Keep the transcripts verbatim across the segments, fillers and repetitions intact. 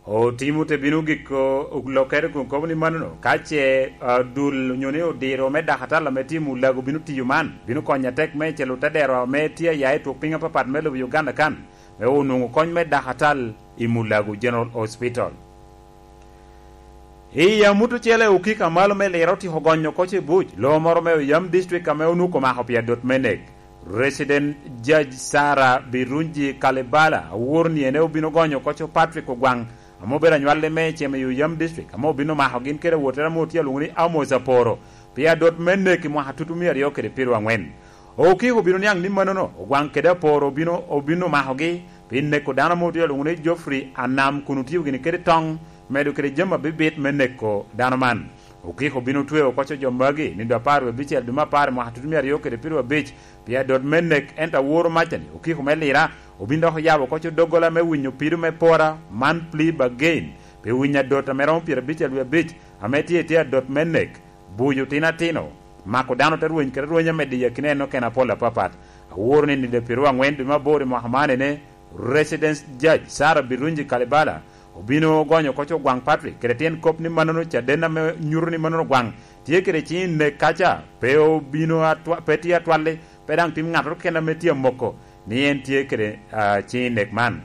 Otimo te bino giko lokere kun kobo ni manono, ka ce, ah, dul onyo ni odiro me dakatal ame tye i Mulago bino tiyo man, bino konyo atek me celo te dero ame tye aya i twok piny apapat me lobo Uganda kan, me onwoŋo kony me dakatal i Mulago General Hospital. I amut ocele, okiko a malo me Lira otyeko gonyo oko i buc lo moro me Oyam District ame onwoŋo omako pi adot me nek. Resident Judge Sarah Birungi Kalibala awor ni ene obino gonyo oko Patrick Ogwaŋ, ame obedo anywalli me Cem i Oyam District, ame obino mako gin kede awotere ame otye alwoŋo ni Amos Aporo, pi adot me nek i mwaka tutumia aryo kede pyeraryo aŋwen. Okiko obino niaŋ ni manono, Ogwaŋ kede Aporo obino, obino makogi pi neko dano ame otye alwoŋo ni Geoffrey Anam kun otio gini kede toŋ, medo kede jami abibit me neko dano man. Okiko obino tweo oko jo magi nido apar wie abicel dwe me apar i mwaka tutumia aryo kede pyeraryo abic, pi adot me nek, ento aworo macani, okiko me Lira, obino dok oyabo oko doggola me winyo pido me pora, man plea bargain, pi winyo adot ame romo pyerabicel wie abic, ame tye, tye adot me nek, buyo otino atino, mako dano te rweny kede rweny amedde i akina en okene apol apapat. Aworo ni nino pyeraryo aŋwen dwe me aboro i mwaka man ene, Resident Judge Sarah Birungi Kalibala obino gonyo oko Ogwaŋ Patrick kede tyen kop ni manono caden ame nyuto ni manono Ogwaŋ tye kede ciŋ i nek kaca, pe obino atwa-, pe tye atwalli, pe daŋ tim ŋattoro keken ame tye amoko ni en tye kede, ah, ciŋ i nek man.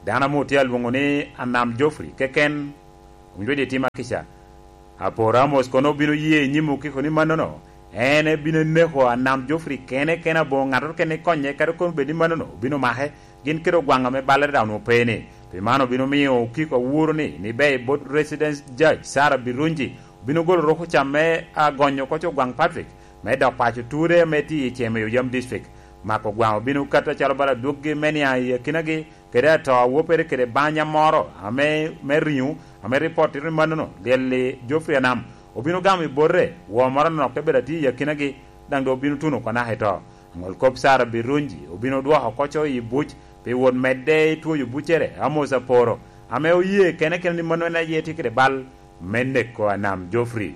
Dano ame otye alwoŋo ni Anam Geoffrey keken, owinyo wede i tim akica. Aporo Amos kono obino ye i nyim okiko ni manono, en ebino neko Anam Geoffrey kene kene, aboŋo ŋattoro keken ikonye, kadi kono bed ni manono obino make, gin kede Ogwaŋ ame ballere daŋ onwoŋo pe ni. Pi man obino miyo okiko awuro ni, ni ber bot Resident Judge Sarah Birungi obino golo rukuca me agonyo oko Ogwaŋ Patrick, me dok paco ture ame tye i Cem i Oyam District. Mako Ogwaŋ obino kato acalo bala adwoggi me niaŋ i akinagi, kede ato a wopere kede banya moro ame, me riŋo, ame ripot tito ni manono, lyel i Geoffrey Anam obino gamo i bote, woo moro anok te bedo atye i akinagi, daŋ doŋ obino tuno oko naka i to. Aŋol kop Sarah Birungi obino dwoko oko i buc pi wot medde i twoyo buccere, Amos Aporo, ame oye kene kene ni mano en aye tye kede bal me neko Anam Geoffrey.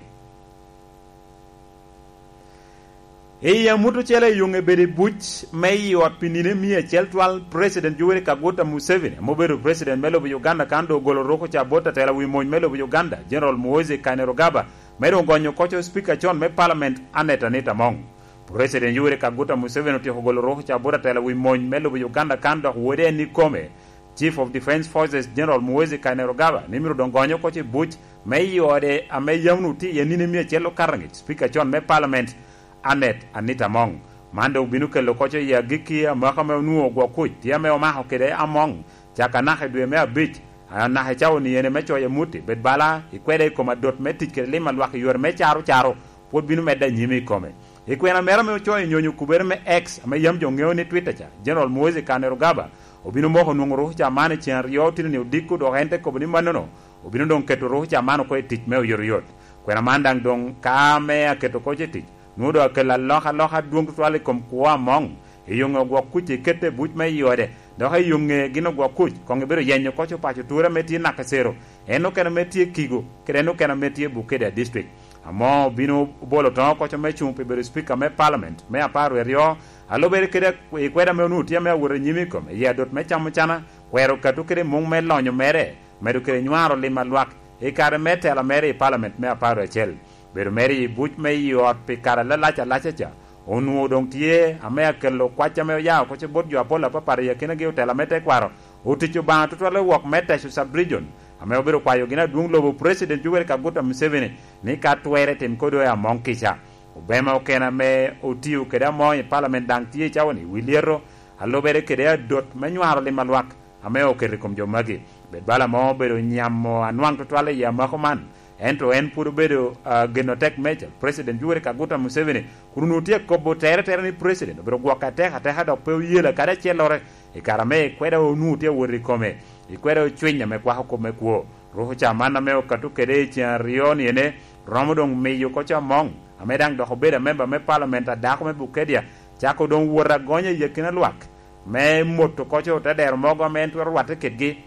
I amut ocele, yoŋe bedo i buc me i ot pi nino mia acel twal, President Yoweri Kaguta Museveni, ame obedo President me lobo Uganda, kan doŋ ogolo rukuca bot atela wi mony me lobo Uganda, General Muhoozi Kainerugaba, me doŋ gonyo oko Speaker con me Parliament, Annet Anita Among. President Yoweri Kaguta Museveni otyeko golo rukuca bot atela wi mony me lobo Uganda, kan dok wode en ikome, Chief of Defence Forces General Muhoozi Kainerugaba, ni myero doŋ gonyo oko i buc me i ode ame yam onwoŋo tye iye nino mia acel okato aŋec, Speaker con me Parliament, Annet Anita Among. Man doŋ obino kelo oko i agikki amaka ame onwoŋo gwok kuc tye ame omako kede Among, caka naka i dwe me abic, a, naka i cawa ni ene me coyo amutti, bed bala ikweda i kom adot me tic kede lim a lwak i yore me caro caro, pwod bino medde anyim i kome. I kwena mere ame ocoyo nyonyo kubere me X, ame yam jo ŋeo ni Twitter ca, General Muhoozi Kainerugaba obino moko nwoŋo rukuca man i ceŋ aryo otino ni odiko, dok en te kobo ni manono obino doŋ keto rukuca man oko i tic me oyotoyot. Kwena man daŋ doŋ ka ame aketo oko i tic, nwoŋo doŋ akelo alokaloka adwoŋ tutwal i kom kwo Among, i yoŋe ogwok kuc ekette i buc me i ode, dok i yoŋe gin ogwok kuc koŋ ebedo yenyo oko paco ture ame tye Nakacero, en okene ame tye Kigo, kede en okene ame tye Bukedea District. Among obino bolo toŋo oko me cuŋ pi bedo Speaker me Parliament me apar wie aryo, a lubere kede i kweda ame onwoŋo tye ame awot anyim i kome, i adot me camo cana, kwero kato kede muŋ me lonyo mere, medo kede nywaro lim a lwak i kare me tela mere i Parliament me apar wie acel. Bedo mere i buc me i ot pi kare alalac alaca ca, onwoŋo doŋ tye ame akelo kwac ame oya oko bot jo apol apapat i akinagi otela me tekwaro, otic Obaŋa tutwal i wok me Teso Sub-Region, ame obedo kwayo gin adwoŋ lobo President Yoweri Kaguta Museveni ni ka twerre tim kodo i Among kica. Obema okene ame otio kede Among i Parliament daŋ tye i cawa ni wi lyeto, a lubere kede adot me nywaro lim a lwak ame oketo i kom jo magi. Bed bala mo obedo nyamo anwaŋ tutwal i amako man, ento en pwod obedo, ah, geno tek meja, President Yoweri Kaguta Museveni, kun onwoŋo tye akobo tere tere ni President obedo gwokke atek ateka dok pe oyela kadi acellere i kare ame ikweda onwoŋo tye awot i kome, ikweda ocwiny ame kwako kop me kwo. Rukuca man ame okato kede i ceŋ aryo ni ene, romo doŋ miyo oko Among, ame daŋ dok obedo amemba me Parliament a dako me Bukedea, cako doŋ wot agonya i akina lwak, me moto oko te dero mogo ame en twero rwatte kedgi,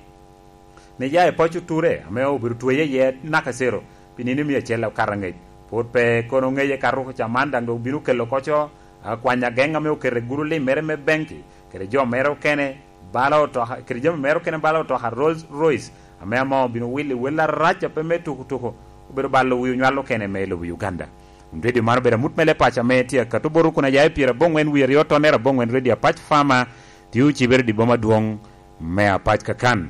ni ya i paco ture ame obedo tweye iye Nakacero pi nino mia acel okato aŋec. Pwod pe kono ŋeye ka rukuca man daŋ doŋ obino kelo oko, a, kwany ageŋ ame oketo i gudo lim mere me benki kede jo mere okene, Bala otoka, kede jami mere okene bala otoka Rolls Royce, ame ama obino wilo i wel arac a pe me tuko tuko, obedo balo wi onywal okene me lobo Uganda. Kun redio man obedo amut me le paco ame tye akato bot okuna ya i pyeraboŋwen wie aryo tonnere aboŋwen redio Apac Farmer, tye ocibere i boma adwoŋ me Apac kakan.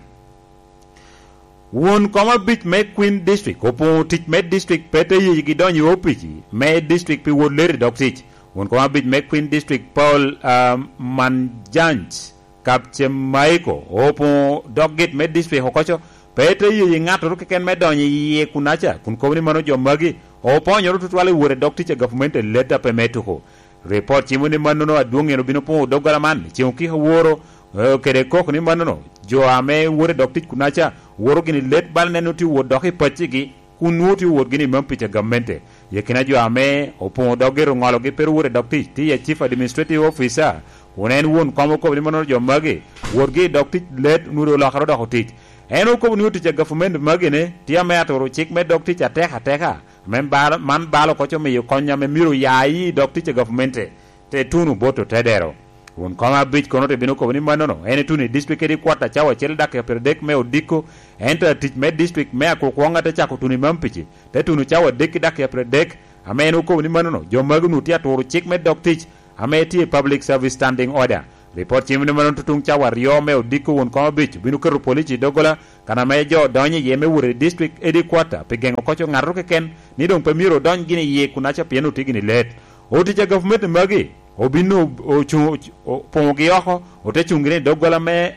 Won kom abic me Queen District opoŋo tic me district pe te yigi donyo i opic me district pi wot leri dok tic. Won kom abic me Queen District Paul, ah, Manjanj Kapcemaiko opoŋo dog git me district okoco, pe te yeyi ŋattoro keken me donyo i yie kunaca, kun kobo ni mano jo magi oponyoro tutwal i wot i dog tic a gavumenti i letta pe me tuko. Ripot cimo ni mannono adwoŋ en obino poŋo doggola man i ceŋ okika woro, eh, kede kok ni mannono jo ame wot i dog tic kunaca woro gini let bal neno tye wot dok i paccigi, kun nwoŋo tye wot gini i mam pic a gamente. I akina jo ame opoŋo doggi ru ŋologi pe ru wot i dog tic, tye iye Chief Administrative Officer, kun en won kom okobo ni mannono jo magi wotgi i dog tic let onwoŋo olokere odoko tic. En okobo ni otic a gavumenti magi ni tye ame aturo cik me dog tic atek ateka, ame bal-, man balo koc omiyo kony ame myero oya i dog tic a gavumenti te tuno bot otedero. Won kom abic kono te bino kobo ni mannono, en ituno i district kede i kwot a cawa acel dakika pyeradek me odiko, ento atic me district me akwokwong ate cako tuno i Mampici, te tuno cawa adek ki dakika pyeradek, ame en okobo ni mannono, jo magi onwoŋo tye aturo cik me dog tic, ame tye i Public Service Standing Order. Ripot cimo ni mannono tutuŋ cawa aryo me odiko won kom abic obino keto polici i doggola, kan ame jo donyo iye me wot i district headquarter pi geŋo koc oŋato keken ni doŋ pe myero odony gini iye kunaca pien otye gini let. Otic a gavumenti magi obin o-, ocuŋ-, o-, opoŋogi oko, ote cuŋ gini i doggola me,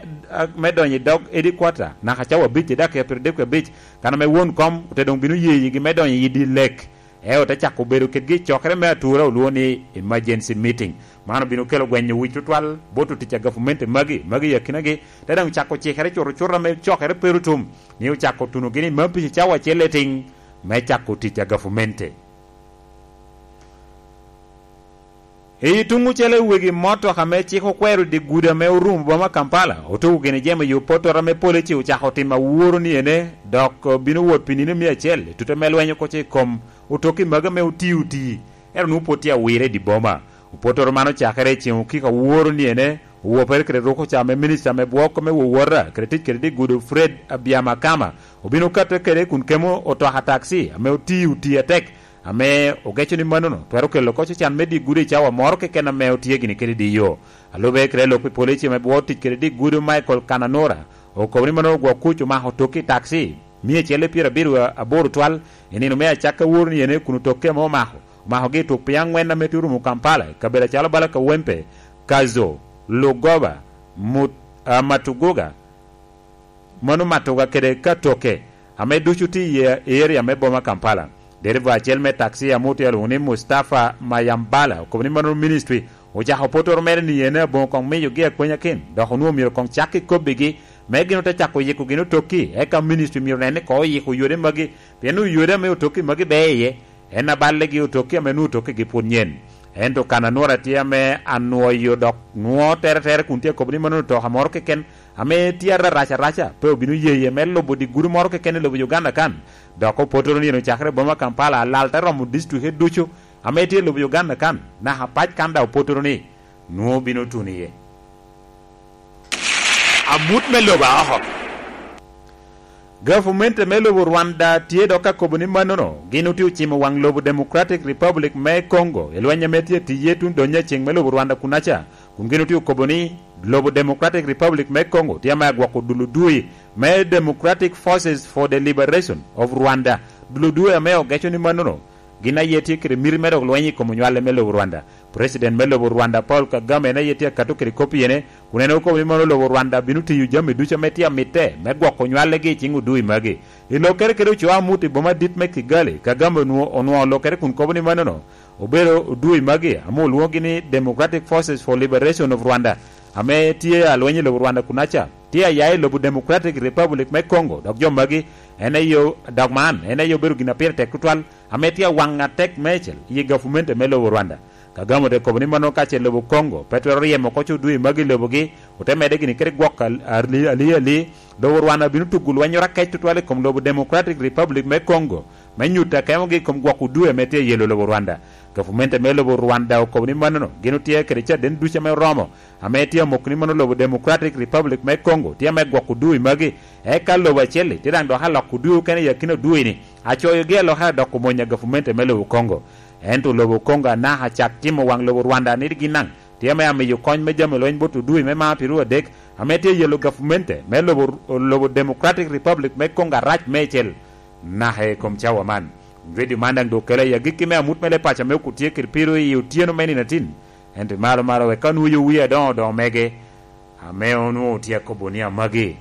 me donyo i dog headquarter naka cawa abic i dakika pyeradek abic, kan ame won kom ote doŋ bino ye yigi me donyo i di lek. Eo te cako bedo kedgi i cokere me atura olwoŋo ni emergency meeting. Man obino kelo gwenyo wic tutwal bot otic a gavumenti magi, magi i akinagi, te daŋ cako cikere cuto cuto ame cokere pe ru tum, ni ocako tunogi ni mappic i cawa acel letiŋ me cako tic a gavumenti. I tuŋ ocele wegi motoka ame cik okwero i dye gudo ame orumo boma Kampala, otuko gini jemo yo potoro ame pole ci ocako timo aworo ni ene, dok bino wot pi nino mia acel, i tute me lweny okoco i kom otokki magi ame oti oti, ento nwoŋo pwod tye awire i dye boma. Opotoro man ocakere i ceŋ okiko aworo ni ene, owopere kede ruko ca ame minista me bwok me wowota kede tic kede dye gudo Fred Abiamakama obino katte kede kun kemo otoka takci ame oti oti atek, ame ogeco ni mannono twero kelo koc ocan me dye gudo i cawa moro keken ame otye gini kede diyo. A lube kede lok pi polici ame bwot tic kede dye gudo Michael Kananura okobo ni mannono ogwok kuc omako tokki i takci mia acel i pyerabiro aboro twal i nino me acakka woro ni ene kun otokke ame omako, omakogi i tuk piny aŋwen ame tye orumo Kampala, i kabedo acalo bala Kawempe, Kazo, Lugoba, Mut-, ah, Matuguga, mano Matuga kede Katoke, ame ducu tye i area me boma Kampala. Dereva acel me takci ame otye alwoŋo ni Mustafa Mayambala okobo ni mano ministry ocako potoro mere ni en aboŋo koŋ miyogi akwenya kin, dok onwoŋo myero koŋ cak i kobbigi, me gin ote cako yiko gin otokki, eka ministry myero nen ni koŋ oyiko yode magi, pien oyode ame otokki magi ber iye. En aballe gi otokki ame nwoŋo tokkigi pwod nyen. Ento kan anwora tye ame anwoyo dok nwoŋo tere tere kun tye akobo ni mano otoka moro keken ame tye ararac araca, pe obino yeye me lubo dye gudo moro keken i lobo Uganda kan. Dok opotoro ni en ocakere i boma Kampala, alal te romo distrikte ducu ame tye i lobo Uganda kan, naka pac kan daŋ opotoro ni nwoŋo bino tuno iye. Amut me lobo a oko. Gavumenti me lobo Rwanda tye dok ka kobo ni mannono, gin otye ocimo waŋ lobo Democratic Republic me Congo i lweny ame tye tiye tuŋ donyo aceŋ me lobo Rwanda kunaca, kun gin otye okobo ni lobo Democratic Republic me Congo tye ame agwoko dul odui me Democratic Forces for the Liberation of Rwanda, dul odui ame ogeco ni mannono gin aye tye kede miti me dok lweny i kom onywale me lobo Rwanda. President me lobo Rwanda, Paul Kagame, en aye tye akato kede kop i ene, kun en okobo ni mono lobo Rwanda bino tiyo jami ducu ame tye amitte me gwoko onywalegi i ciŋ odui magi. I lokkere kede ocoo amut i boma adit me Kigali, Kagame onwo-, onwoŋo lokkere kun kobo ni manono obedo odui magi ame olwoŋogi ni Democratic Forces for Liberation of Rwanda, ame tye alweny i lobo Rwanda kunaca, tye aya i lobo Democratic Republic me Congo, dok jo magi en aye o-, dok man en aye obedo gin a pire tek tutwal, ame tye awaŋ atek meicel i gavumenti me lobo Rwanda. Kagame ote kobo ni mano ka ce lobo Congo pe twero ryemo oko co dwe magi i lobogi, ote medde gini kede gwok al-, ali, ali, ali, lobo Rwanda bino tugo lwennyoro akec tutwal i kom lobo Democratic Republic me Congo, me nyuto akemogi i kom gwoko dwe ame tye i yelo lobo Rwanda. Gavumenti me lobo Rwanda okobo ni mannono gin otye kede caden ducu ame oromo, ame tye amoko ni mano lobo Democratic Republic me Congo tye ame gwoko dwe magi, eka lobo acel-li tye daŋ dok aloko dwe okene i akina dwe-ni, acoyogi alokere dok omony a gavumenti me lobo Congo. Ento lobo Congo anaka cak timo waŋ lobo Rwanda ni gin daŋ tye ame amiyo kony me jami lweny bot odui me maa pirwo adek, ame tye yelo gavumenti me lobo, lobo Democratic Republic me Congo arac meicel, naka i kom cawa man. Redio man daŋ doŋ okele i agikki me amut me leb paco ame okut tye kede piro i otyeno me nino atin, ento malo malo wek ka onwoyo wie adoŋo doŋo mege, ame onwoŋo tye akobo ni amagi.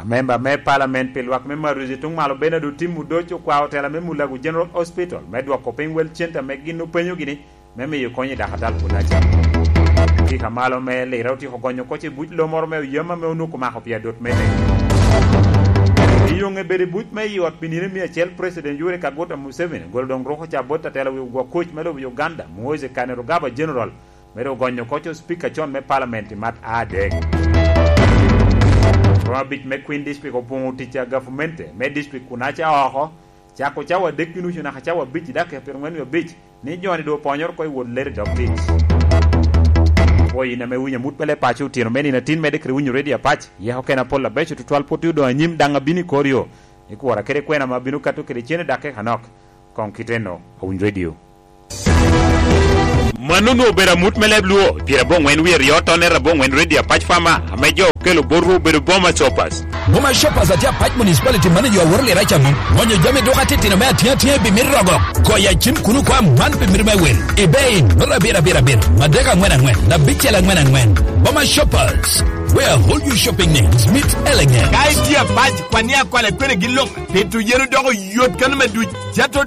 Amemba me Parliament pi lwak me Maruzi tuŋ malo Bernard Otim Odoc okwao tela me Mulago General Hospital me dwoko piny wel cente ame gin openyogi ni me miyo kony i dakatal Kunaca. Kika malo me Lira otyeko gonyo koc i buc lo moro me oyem ame onwoŋo omako pi adot mene. I yoŋe bedo i buc me i ot pi nino mia acel, President Yoweri Kaguta Museveni ogolo doŋ ruko ca bot atela wi ogwok kuc me lobo Uganda, Muhoozi Kainerugaba General, me doŋ gonyo koc o Speaker con me Parliament i mat adek. Rwom abic me Kwin District opoŋo tic a gavumenti me district Kunaca oko, cako cawa adek i nucu naka cawa abic i dakika pyerangwen wie abic, ni jo-ni doŋ oponyoro oko i wot lero i dog tic. Pwoyo in ame winyo amut me leb paco otyeno me nino atin, medde kede winyo redio apac, yeko kene apol abeco tutwal, pwod odoŋ anyim, daŋ abino i kor yo, i kwora kede kwena ame abino kato kede cen i dakika anok. Koŋ kite-no, awiny redio. Mano onwoŋo obedo amut me leb Luo, pyeraboŋwen wie aryo, tonere aboŋwen, redio apac Fama, ame jo okelo botwu obedo Boma Shoppers. Boma Shoppers atye apac Municipality Manager Awor Lira Caŋo, gonyo jami duka titino me atiŋ atiŋa i bimit rogo. Goyo acim kuno kwa man bimit me wil. I bei, nura abiro abiro abiro, madek aŋwen aŋwen, abicel aŋwen aŋwen. Boma Shoppers, where all your shopping needs meet elegance. Ka itye apac, kwan ni akwala kwene gin luŋ, pito yen odoko yot kano me duc. Jato